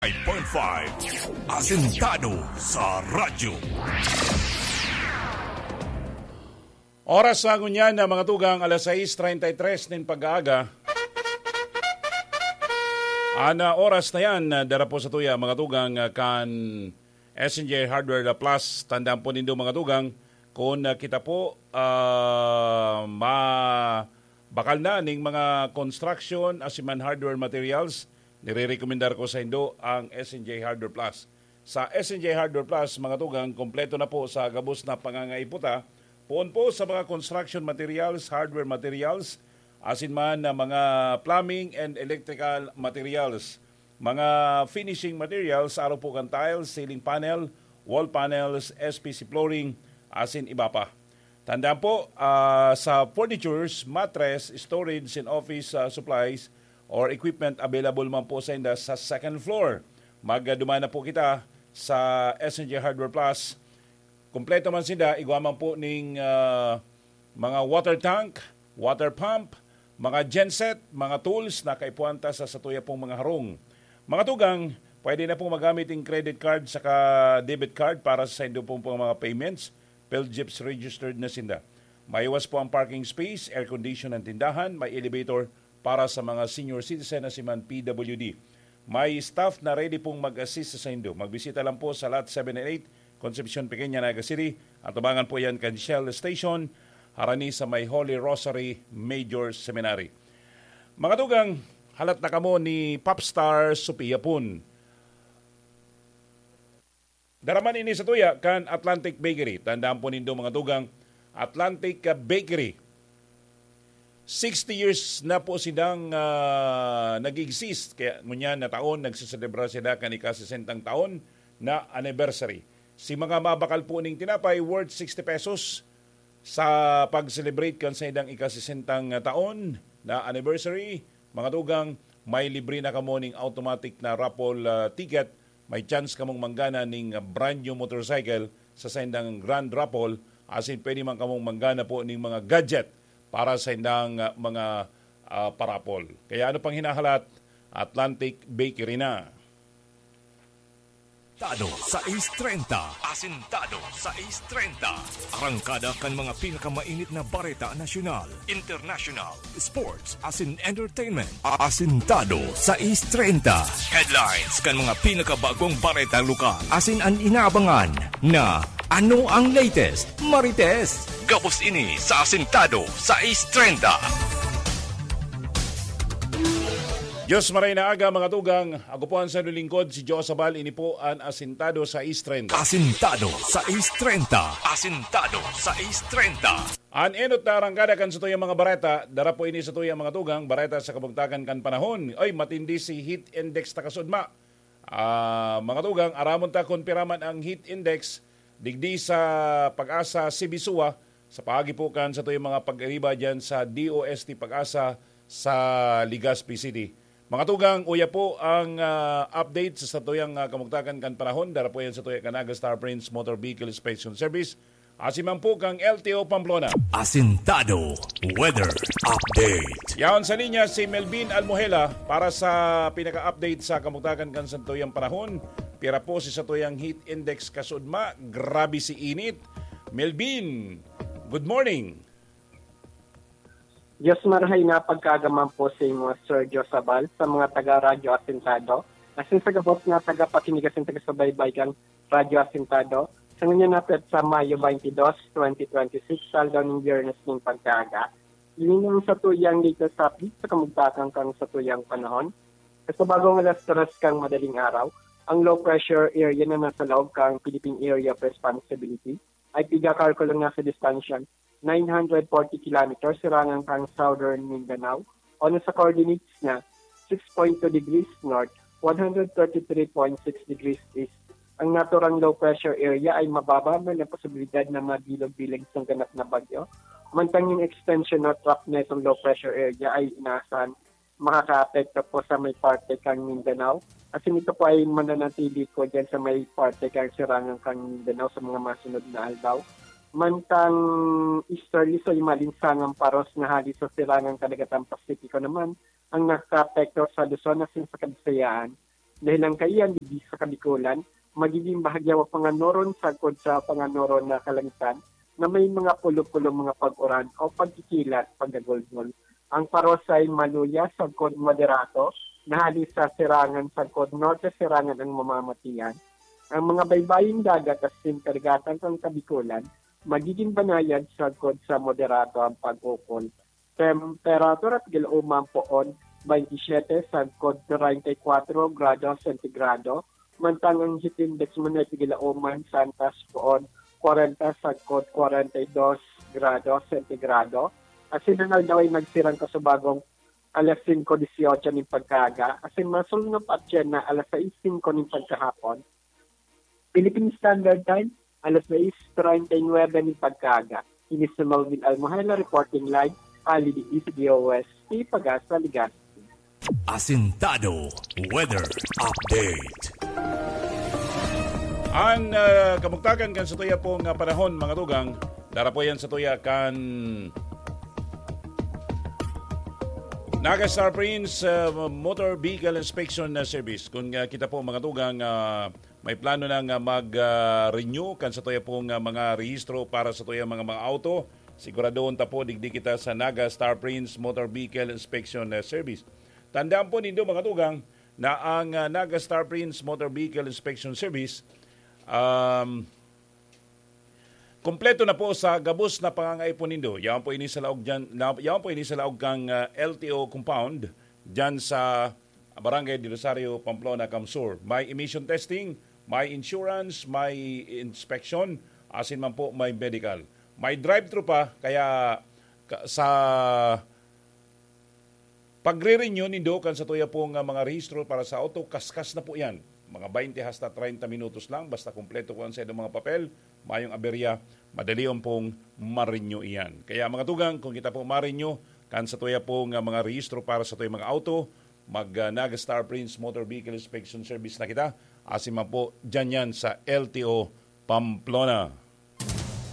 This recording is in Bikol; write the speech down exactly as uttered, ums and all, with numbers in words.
five point five Asintado sa Radyo. Oras na ngunyan na mga tugang alas sais treinta y tres nin pag-aaga. Ana oras na yan, ah, dara po sa tuya, mga tugang, ah, kan S N J Hardware Plus. Tandaan po nindo, mga tugang, kung, ah, kita po, ah, ma-, bakal na ning mga construction, asiman hardware materials, nirerekomendar ko sa indo ang S N J Hardware Plus. Sa S N J Hardware Plus, mga tugang, kompleto na po sa gabos na pangangaipo ta. Poon po sa mga construction materials, hardware materials, asin man na mga plumbing and electrical materials, mga finishing materials, araw po kan tiles, ceiling panel, wall panels, S P C flooring, asin iba pa. Tandaan po, ah, sa furnitures, mattress, storage, and office, ah, supplies or equipment available man po sa inda sa second floor. Magduman na po kita sa S N J Hardware Plus. Kompleto man sinda, igwa man po ning, ah, mga water tank, water pump, mga genset, mga tools na kaipuhan ta sa satuya pong mga harong. Mga tugang, pwede na pong magamit ang credit card saka debit card para sa saindo pong, pong mga payments. PhilGEPS registered na sinda. Maiwas po ang parking space, air condition ang tindahan, may elevator para sa mga senior citizen na si man P W D. May staff na ready pong mag-assist sa saindo. Magbisita lang po sa Lot seven and eight, Concepcion Pequeña, Naga City. Atubangan po yan kan Shell Station, harani sa may Holy Rosary Major Seminary. Mga tugang, halat na kamo ni Popstar Sophia Pun. Daraman ini sa tuya kan Atlantic Bakery. Tandaan po nindo, mga tugang, Atlantic, ah, Bakery. Sixty years na po silang, ah, nag-exist. Kaya ngunyan na taon, nagseselebra sila kan ika-sesentang taon na anniversary. Si mga mabakal po ning tinapay worth sixty pesos sa pag-celebrate kan saindang ika-sesentang taon na anniversary, mga tugang, may libre na kamo ning automatic na raffle, ah, ticket. May chance kamong manggana ning brand new motorcycle sa saindang grand raffle, asin pwede man kamong manggana po ning mga gadget para sa indang, ah, mga, ah, parapol. Kaya ano pang hinahalat? Atlantic Bakery na. Asintado sais treinta. Asintado sais treinta. Arangkada kan mga pinakamainit na bareta nasyonal, international, sports, asin entertainment. Asintado sais treinta. Headlines kan mga pinakabagong bareta lokal. Asin an inaabangan na ano ang latest, Marites. Gabos ini sa Asintado sais treinta. Diyos maray na aga, mga tugang. Ako po ang sanulingkod, si Joe Sabal. Ini po an Asintado sais treinta. Asintado sais treinta. Asintado sais treinta. An enot na arangkada kan satuyang mga bareta, dara po ini satuyang mga tugang, bareta sa kabugtakan kan panahon. Oy, matindi si heat index ta kasudma. Ah, mga tugang, aramon ta kun pira man ang heat index digdi sa Pag-asa, Sibisua, sa paagi po kan satuyang mga pag-ariba diyan sa D O S T Pag-asa sa Legazpi City. Mga tugang, uya po ang, ah, update sa satuyang, ah, kamugtakan kan panahon. Dara po yan sa tuya kan Naga Star Prince Motor Vehicle Inspection Service. Asin man po kang L T O Pamplona. Asintado Weather Update. Yaon sa linya si Melvin Almohela para sa pinaka-update sa kamugtakan kan satuyang panahon. Pira po si satuyang heat index kasudma, grabe si init. Melvin, good morning. Diyos marahay na pagkaagaman po sa imo, Sir Joe Sabal, sa mga taga Radyo Asintado, asin sa gabos na tagapakinig asin taga-subaybay kan Radyo Asintado. Sa ngunyan na petsa, Mayo twenty-two, twenty twenty-six, aldaw nin Biyernes nin pagkaaga. Ini na ang satuyang latest update sa kamugtakan kan satuyang panahon. Sa bagong alas tres kan madaling araw, ang low pressure area na nasa laog kan Philippine Area of Responsibility ay pigakalkulo na sa distansya nine hundred forty kilometers sirangan kan Southern Mindanao o nasa coordinates na six point two degrees north, one hundred thirty-three point six degrees east. Ang naturang low pressure area ay mababa man ang posibilidad na mabilog bilang isang ganap na bagyo. Mantang yung extension o track na itong low pressure area ay inaasahan makakaapekto po sa may parte kan Mindanao. Asin ito po ay mananatili po dyan sa may parte kan sirangan kan Mindanao sa mga masunod na aldaw. Mantang easterly, so, yung malinsangang paros na hali sa sirangan kadagatan Pasipiko naman ang nakakaapekto sa Luzon asin sa Kabisayaan. Dahil ang kaiyan digdi sa Kabikolan, magiging bahagya o panganoron sagkod sa panganoron na kalangitan na may mga pulo-pulo mga pag-uran o pagkikilat, pagdagulgol. Ang parosay maluya sagkod moderato, na hali sa sirangan sagkod norte sirangan ang mamamatian. Ang mga baybaying dagat asin karagatan kan Kabikolan, magigin banayad sagkod sa moderato ang pag-ukol. Temperatura tigil uma ang poon, twenty-seven sagkod treinta y cuatro grado sentigrado, mantang ang heat index man ay tigil uma ang santas poon, kwarenta sagkod kwarenta y dos grado sentigrado. Asin ang aldaw ay nagsirang kasubagong alas singko disyotso nin pagkaaga, asin masulnop atyan na alas sais singko nin pagkahapon. Philippine Standard Time, alas sais treinta y nueve nin pagkaaga. Ini si Melvin Almohela reporting live, hali digdi sa D O S T Pag-asa, Legazpi. Asintado Weather Update. An ah, kamugtakan kan satuya pong ah, panahon, mga tugang, darapo yan satuya kan Naga Star Prince ah, Motor Vehicle Inspection ah, Service. Kung ah, kita po, mga tugang, ah, may plano nang ah, mag-renew kan satuya pong ah, mga rehistro para satuya mga mga auto, siguradohon ta po digdi kita sa Naga Star Prince Motor Vehicle Inspection ah, Service. Tandaan po nindo, mga tugang, na ang ah, Naga Star Prince Motor Vehicle Inspection Service, um, kompleto na po sa gabos na pangangaipo nindo. Yaon po ini sa laog dyan, na, yaon po ini sa laog kang ah, L T O compound dyan sa Barangay de Rosario, Pamplona, Camsur. May emission testing, may insurance, may inspection, asin man po may medical. May drive-thru pa, kaya ka- sa pagre-renew nindo kan satuya pong ah, mga rehistro para sa auto, kaskas na po yan. Mga twenty hasta treinta minutos lang, basta kompleto ko ang sa mga papel, mayong aberya, madali on pong ma-renew iyan. Kaya, mga tugang, kung kita po ma-renew kan satuya pong ah, mga rehistro para satuya mga auto, mag ah, Naga Star Prince Motor Vehicle Inspection Service na kita. Asin man po, dyan yan sa L T O Pamplona.